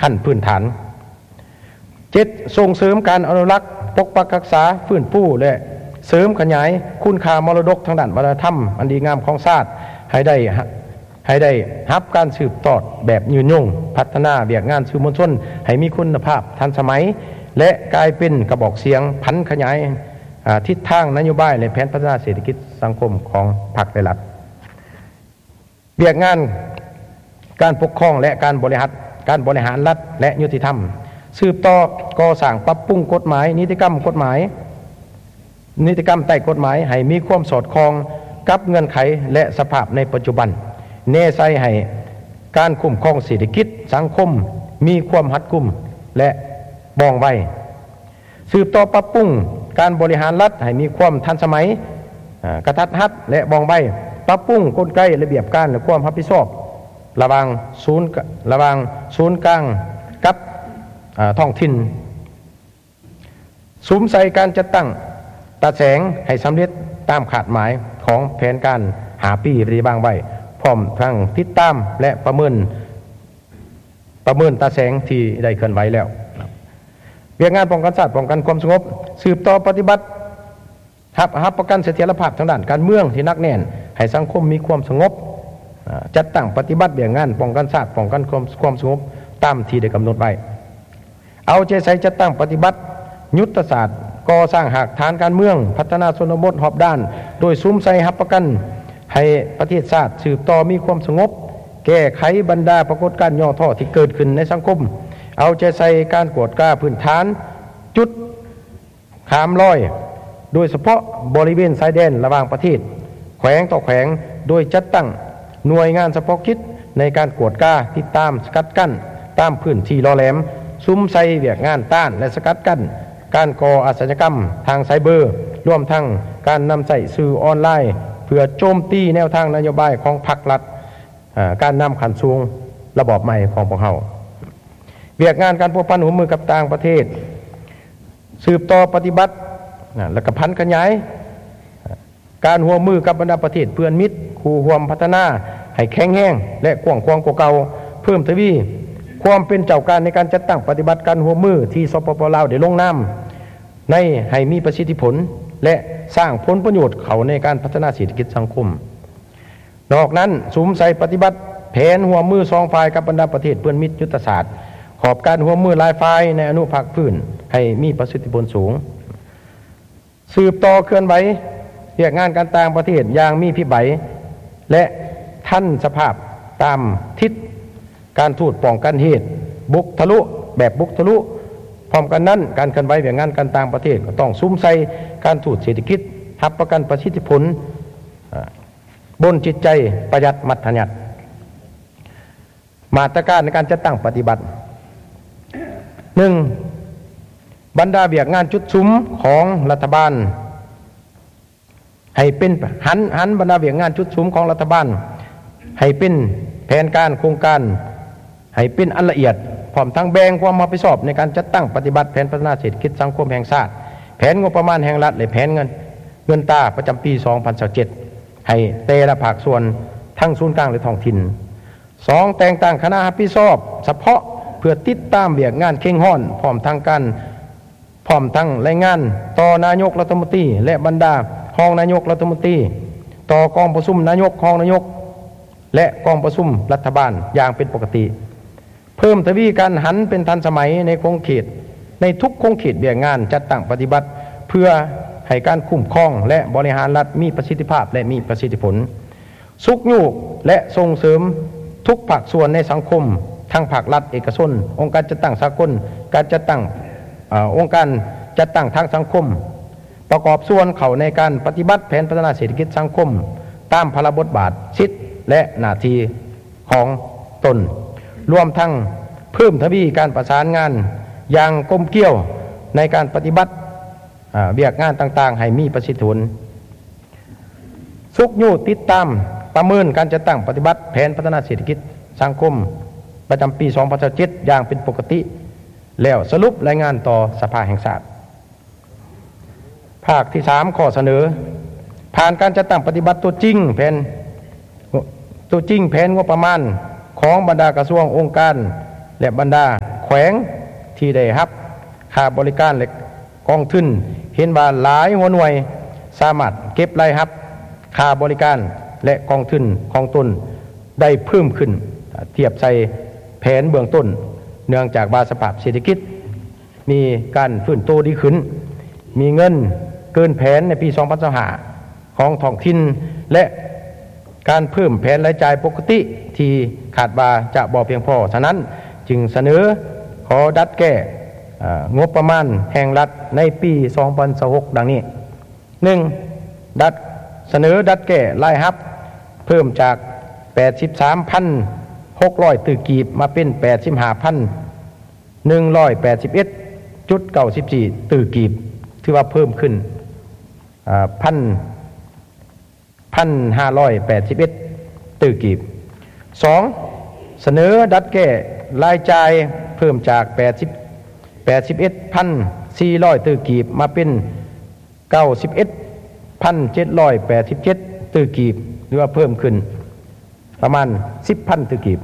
ຂັ້ນພື້ນຖານ. ເຈັດ, ສົ່ງເສີມການອະນຸລັກ, ປົກປັກຮັກສາ, ຟື້ນຟູ ແລະ ເສີມຂະຫຍາຍຄຸນຄ່າມໍລະດົກທາງດ້ານວັດທະນະທຳອັນດີງາມຂອງຊາດ ໃຫ້ໄດ້ ໃຫ້ໄດ້ຮັບການສືບທອດແບບຍືນຍົງ, ພັດທະນາວຽກງານສື່ມວນຊົນໃຫ້ມີຄຸນນະພາບ, ທັນສະໄໝ ແລະ ກາຍເປັນກະບອກສຽງຜັນຂະຫຍາຍ, ອາ, ທິດທາງນະໂຍບາຍ ແລະ ແຜນພັດທະນາເສດຖະກິດສັງຄົມຂອງພັກ ແລະ ລັດ. ວຽກງານການປົກຄອງ ແລະ ການບໍລິຫານ ການບໍລິຫານລັດ ແລະ ຍຸຕິທຳ. ສືບຕໍ່ກໍ່ສ້າງປັບປຸງກົດໝາຍ, ນິຕິກຳກົດໝາຍ, ນິຕິກຳໃຕ້ກົດໝາຍໃຫ້ມີຄວາມສອດຄ່ອງກັບເງື່ອນໄຂ ແລະ ສະພາບໃນປັດຈຸບັນ, ແນໃສ່ໃຫ້ການຄຸ້ມຄອງເສດຖະກິດສັງຄົມມີຄວາມຮັດກຸມ ແລະ ວ່ອງໄວ. ສືບຕໍ່ປັບປຸງການບໍລິຫານລັດໃຫ້ມີຄວາມທັນສະໄໝ, ອາ, ກະທັດຮັດ ແລະ ວ່ອງໄວ, ປັບປຸງກົນໄກລະບຽບການ ແລະ ຄວາມຮັບຜິດຊອບລະຫວ່າງສູນ ລະຫວ່າງສູນກາງກັບ, ອາ, ທ້ອງຖິ່ນ. ສຸມໃສ່ການຈັດຕັ້ງຕາແສງໃຫ້ສຳເລັດຕາມຄາດໝາຍຂອງແຜນການຫ້າປີທີ່ວາງໄວ້, ພ້ອມທັງຕິດຕາມ ແລະ ປະເມີນ ປະເມີນຕາແສງທີ່ໄດ້ເຄື່ອນໄຫວແລ້ວ. ວຽກງານປ້ອງກັນຊາດ, ປ້ອງກັນຄວາມສະຫງົບ, ສືບຕໍ່ປະຕິບັດ ຮັບ ຮັບປະກັນສະຖຽນລະພາບທາງດ້ານການເມືອງທີ່ໜັກແໜ້ນ ໃຫ້ສັງຄົມມີຄວາມສະຫງົບ, ອາ, ຈັດຕັ້ງປະຕິບັດວຽກງານປ້ອງກັນຊາດ, ປ້ອງກັນຄວາມ ຄວາມສະຫງົບຕາມທີ່ໄດ້ກຳນົດໄວ້. ເອົາໃຈໃສ່ຈັດຕັ້ງປະຕິບັດຍຸດທະສາດກໍ່ສ້າງຮາກຖານການເມືອງ, ພັດທະນາຊົນນະບົດຮອບດ້ານ, ໂດຍສຸມໃສ່ຮັບປະກັນໃຫ້ປະເທດຊາດສືບຕໍ່ມີຄວາມສະຫງົບ, ແກ້ໄຂບັນດາປາກົດການຫຍໍ້ທໍ້ທີ່ເກີດຂຶ້ນໃນສັງຄົມ, ເອົາໃຈໃສ່ການກວດກາພື້ນຖານຈຸດ ຂ້າມລອຍ, ໂດຍສະເພາະບໍລິເວນຊາຍແດນລະຫວ່າງປະເທດ, ແຂວງຕໍ່ແຂວງ, ໂດຍຈັດຕັ້ງໜ່ວຍງານສະເພາະກິດໃນການກວດກາ, ຕິດຕາມ, ສະກັດກັ້ນຕາມພື້ນທີ່ຫຼໍ່ແຫຼມ, ສຸມໃສ່ວຽກງານຕ້ານ ແລະ ສະກັດກັ້ນການກໍ່ອາຊະຍາກຳທາງໄຊເບີ, ລວມທັງການນຳໃຊ້ສື່ອອນລາຍເພື່ອໂຈມຕີແນວທາງນະໂຍບາຍຂອງພັກລັດ, ການນຳຂັ້ນສູງລະບອບໃໝ່ຂອງພວກເຮົາ. ວຽກງານການພົວພັນຮ່ວມມືກັບຕ່າງປະເທດ ສືບຕໍ່ປະຕິບັດ ແລະ ກະຜັນຂະຫຍາຍການຮ່ວມມືກັບບັນດາປະເທດເພື່ອນມິດຄູ່ຮ່ວມພັດທະນາໃຫ້ແຂງແຮງ ແລະ ກວ້າງຂວາງກວ່າເກົ່າ, ເພີ່ມທະວີຄວາມເປັນເຈົ້າການໃນການຈັດຕັ້ງປະຕິບັດການຮ່ວມມືທີ່ ສປປ ລາວ ໄດ້ລົງນາມໃນໃຫ້ມີປະສິດທິຜົນ ແລະ ສ້າງຜົນປະໂຫຍດເຂົ້າໃນການພັດທະນາເສດຖະກິດສັງຄົມ. ນອກນັ້ນ, ສຸມໃສ່ປະຕິບັດແຜນຮ່ວມມືສອງຝ່າຍກັບບັນດາປະເທດເພື່ອນມິດຍຸດທະສາດ, ຂອບການຮ່ວມມືຫຼາຍຝ່າຍໃນອະນຸພາກພື້ນໃຫ້ມີປະສິດທິຜົນສູງ. ສືບຕໍ່ເຄື່ອນໄຫວວຽກງານການຕ່າງປະເທດຢ່າງມີພິບໃບ ແລະ ທັນສະພາບຕາມທິດການທູດປ້ອງກັນເຫດບຸກທະລຸ ແບບບຸກທະລຸ. ພ້ອມກັນນັ້ນ, ການເຄື່ອນໄຫວວຽກງານການຕ່າງປະເທດກໍຕ້ອງສຸມໃສ່ການທູດເສດຖະກິດ, ຮັບປະກັນປະສິດທິຜົນ, ບົນຈິດໃຈປະຢັດມັດທະຍັດ. ມາດຕະການໃນການຈັດຕັ້ງປະຕິບັດ. ໜຶ່ງ, ບັນດາວຽກງານຈຸດສຸມຂອງລັດຖະບານ ໃຫ້ເປັນ ຫັນ ຫັນບັນດາວຽກງານຈຸດສຸມຂອງລັດຖະບານໃຫ້ເປັນແຜນການໂຄງການ ໃຫ້ເປັນອັນລະອຽດ, ພ້ອມທັງແບ່ງຄວາມຮັບຜິດຊອບໃນການຈັດຕັ້ງປະຕິບັດແຜນພັດທະນາເສດຖະກິດສັງຄົມແຫ່ງຊາດ, ແຜນງົບປະມານແຫ່ງລັດ ແລະ ແຜນເງິນ ເງິນຕາປະຈຳປີສອງພັນຊາວເຈັດ ໃຫ້ແຕ່ລະພາກສ່ວນ ທັງສູນກາງ ແລະ ທ້ອງຖິ່ນ. ສອງ, ແຕ່ງຕັ້ງຄະນະຮັບຜິດຊອບສະເພາະເພື່ອຕິດຕາມວຽກງານເຄັ່ງຮ້ອນ ພ້ອມທັງການ ພ້ອມທັງລາຍງານຕໍ່ນາຍົກລັດຖະມົນຕີ ແລະ ບັນດາຮອງນາຍົກລັດຖະມົນຕີ, ຕໍ່ກອງປະຊຸມນາຍົກ, ຮອງນາຍົກ ແລະ ກອງປະຊຸມລັດຖະບານຢ່າງເປັນປົກກະຕິ. ເພີ່ມທະວີການຫັນເປັນທັນສະໄໝໃນຂົງເຂດ, ໃນທຸກຂົງເຂດວຽກງານຈັດຕັ້ງປະຕິບັດ ເພື່ອໃຫ້ການຄຸ້ມຄອງ ແລະ ບໍລິຫານລັດມີປະສິດທິພາບ ແລະ ມີປະສິດທິຜົນ. ຊຸກຍູ້ ແລະ ສົ່ງເສີມທຸກພາກສ່ວນໃນສັງຄົມ, ທັງພາກລັດ, ເອກະຊົນ, ອົງການຈັດຕັ້ງສາກົນ, ການຈັດຕັ້ງ, ເອີ, ອົງການຈັດຕັ້ງທາງສັງຄົມ, ປະກອບສ່ວນເຂົ້າໃນການປະຕິບັດແຜນພັດທະນາເສດຖະກິດສັງຄົມຕາມພາລະບົດບາດ, ສິດ ແລະ ໜ້າທີ່ຂອງຕົນ, ລວມທັງເພີ່ມທະວີການປະສານງານຢ່າງກົມກຽວໃນການປະຕິບັດ ອາ, ວຽກງານຕ່າງໆໃຫ້ມີປະສິດທິຜົນ. ຊຸກຍູ້ຕິດຕາມປະເມີນການຈັດຕັ້ງປະຕິບັດແຜນພັດທະນາເສດຖະກິດສັງຄົມປະຈຳປີສອງພັນຊາວເຈັດຢ່າງເປັນປົກກະຕິ ແລ້ວສະຫຼຸບລາຍງານຕໍ່ສະພາແຫ່ງຊາດ. ພາກທີສາມ ຂໍ້ສະເໜີ ຜ່ານການຈັດຕັ້ງປະຕິບັດຕົວຈິງແຜນ, ຕົວຈິງແຜນງົບປະມານຂອງບັນດາກະຊວງ, ອົງການ ແລະ ບັນດາແຂວງທີ່ໄດ້ຮັບຄ່າບໍລິການ ແລະ ກອງທຶນ ເຫັນວ່າຫຼາຍຫົວໜ່ວຍສາມາດເກັບລາຍຮັບຄ່າບໍລິການ ແລະ ກອງທຶນຂອງຕົນໄດ້ເພີ່ມຂຶ້ນທຽບໃສ່ແຜນເບື້ອງຕົ້ນ ເນື່ອງຈາກວ່າສະພາບເສດຖະກິດ ມີການຟື້ນໂຕດີຂຶ້ນ, ມີເງິນເກີນແຜນໃນປີສອງພັນຊາວຫ້າຂອງທ້ອງຖິ່ນ ແລະ ການເພີ່ມແຜນລາຍຈ່າຍປົກກະຕິທີ່ຄາດວ່າຈະບໍ່ພຽງພໍ. ສະນັ້ນ, ຈຶ່ງສະເໜີຂໍດັດແກ້, ເອີ, ງົບປະມານແຫ່ງລັດໃນປີສອງພັນຊາວຫົກ ດັ່ງນີ້. ໜຶ່ງ, ດັດ, ສະເໜີດັດແກ້ລາຍຮັບເພີ່ມຈາກແປດສິບສາມພັນຫົກຮ້ອຍຕື້ກີບ ມາເປັນແປດສິບຫ້າພັນ ໜຶ່ງຮ້ອຍແປດສິບເອັດຈຸດເກົ້າສິບສີ່ຕື້ກີບ, ຖືວ່າເພີ່ມຂຶ້ນ, ເອີ, ພັນ, ພັນຫ້າຮ້ອຍແປດສິບເອັດຕື້ກີບ. ສອງ, ສະເໜີດັດແກ້ລາຍຈ່າຍເພີ່ມຈາກແປດສິບ, ແປດສິບເອັດພັນສີ່ຮ້ອຍຕື້ກີບ ມາເປັນເກົ້າສິບເອັດພັນເຈັດຮ້ອຍແປດສິບເຈັດຕື້ກີບ, ຫຼືວ່າເພີ່ມຂຶ້ນປະມານສິບພັນຕື້ກີບ.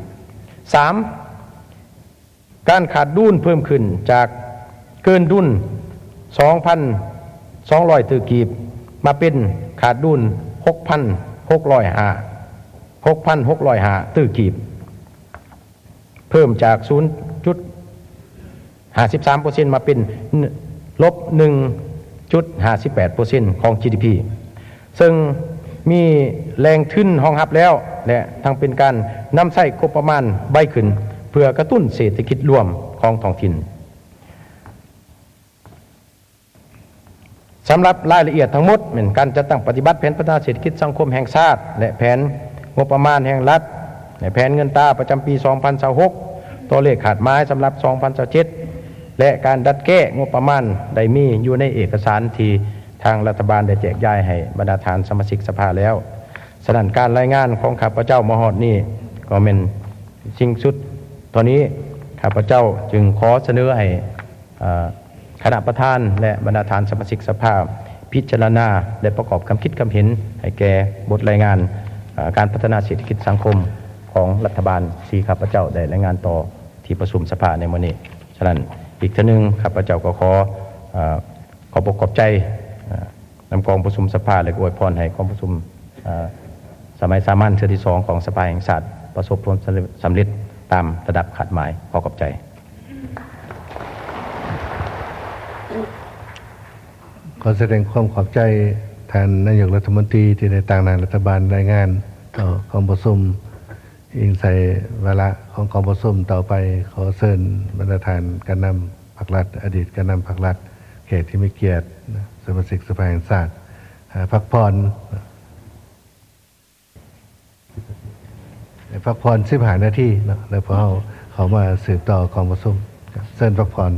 ສາມ, ການຂາດດຸນເພີ່ມຂຶ້ນຈາກເກີນດຸນສອງພັນສອງຮ້ອຍຕື້ກີບ ມາເປັນຂາດດຸນຫົກພັນຫົກຮ້ອຍຫ້າ, ຫົກພັນຫົກຮ້ອຍຫ້າຕື້ກີບ, ເພີ່ມຈາກສູນຈຸດຫ້າສິບສາມເປີເຊັນ ມາເປັນລົບໜຶ່ງຈຸດຫ້າສິບແປດເປີເຊັນຂອງ ຈີດີພີ. ເຊິ່ງມີແຫຼ່ງທຶນຮອງຮັບແລ້ວ ແລະ ທັງເປັນການນຳໃຊ້ງົບປະມານໄວຂຶ້ນ ເພື່ອກະຕຸ້ນເສດຖະກິດລວມຂອງທ້ອງຖິ່ນ. ສຳລັບລາຍລະອຽດທັງໝົດ ແມ່ນການຈັດຕັ້ງປະຕິບັດແຜນພັດທະນາເສດຖະກິດສັງຄົມແຫ່ງຊາດ ແລະ ແຜນງົບປະມານແຫ່ງລັດ ແລະ ແຜນເງິນຕາປະຈຳປີສອງພັນຊາວຫົກ ຕົວເລກຄາດໝາຍສຳລັບສອງພັນຊາວເຈັດ ແລະ ການດັດແກ້ງົບປະມານໄດ້ມີຢູ່ໃນເອກະສານທີ່ ທາງລັດຖະບານໄດ້ແຈກຢາຍໃຫ້ບັນດາທ່ານສະມາຊິກສະພາແລ້ວ. ສະນັ້ນ, ການລາຍງານຂອງຂ້າພະເຈົ້າມາຮອດນີ້ກໍແມ່ນສິ້ນສຸດເທົ່ານີ້. ຂ້າພະເຈົ້າຈຶ່ງຂໍສະເໜີໃຫ້, ເອີ, ຄະນະປະທານ ແລະ ບັນດາທ່ານສະມາຊິກສະພາພິຈາລະນາ ແລະ ປະກອບຄຳຄິດຄຳເຫັນໃຫ້ແກ່ບົດລາຍງານ, ເອີ, ການພັດທະນາເສດຖະກິດສັງຄົມຂອງລັດຖະບານ ທີ່ຂ້າພະເຈົ້າໄດ້ລາຍງານຕໍ່ທີ່ປະຊຸມສະພາໃນມື້ນີ້. ສະນັ້ນ, ອີກເທື່ອໜຶ່ງ ຂ້າພະເຈົ້າກໍຂໍ, ເອີ, ຂອບອົກຂອບໃຈ, ເອີ, ນຳກອງປະຊຸມສະພາ ແລະ ກໍອວຍພອນໃຫ້ກອງປະຊຸມ, ເອີ, ສະໄໝສາມັນເທື່ອທີສອງຂອງສະພາແຫ່ງຊາດ ປະສົບຜົນສຳເລັດຕາມລະດັບຄາດໝາຍ. ຂໍຂອບໃຈ. ຂໍສະແດງຄວາມຂອບໃຈທ່ານນາຍົກລັດຖະມົນຕີ ທີ່ໄດ້ຕາງໜ້າລັດຖະບານລາຍງານຕໍ່ກອງປະຊຸມ. ອີງໃສ່ວາລະຂອງກອງປະຊຸມຕໍ່ໄປ, ຂໍເຊີນບັນດາທ່ານການນຳພັກລັດ, ອະດີດການນຳພັກລັດ, ແຂກທີ່ມີກຽດ, ສະມາຊິກສະພາແຫ່ງຊາດ, ເອີ, ພັກຜ່ອນ, ພັກຜ່ອນສິບຫ້ານາທີເນາະ, ແລ້ວພວກເຮົາເຂົ້າມາສືບຕໍ່ກອງປະຊຸມ. ເຊີນພັກຜ່ອນ.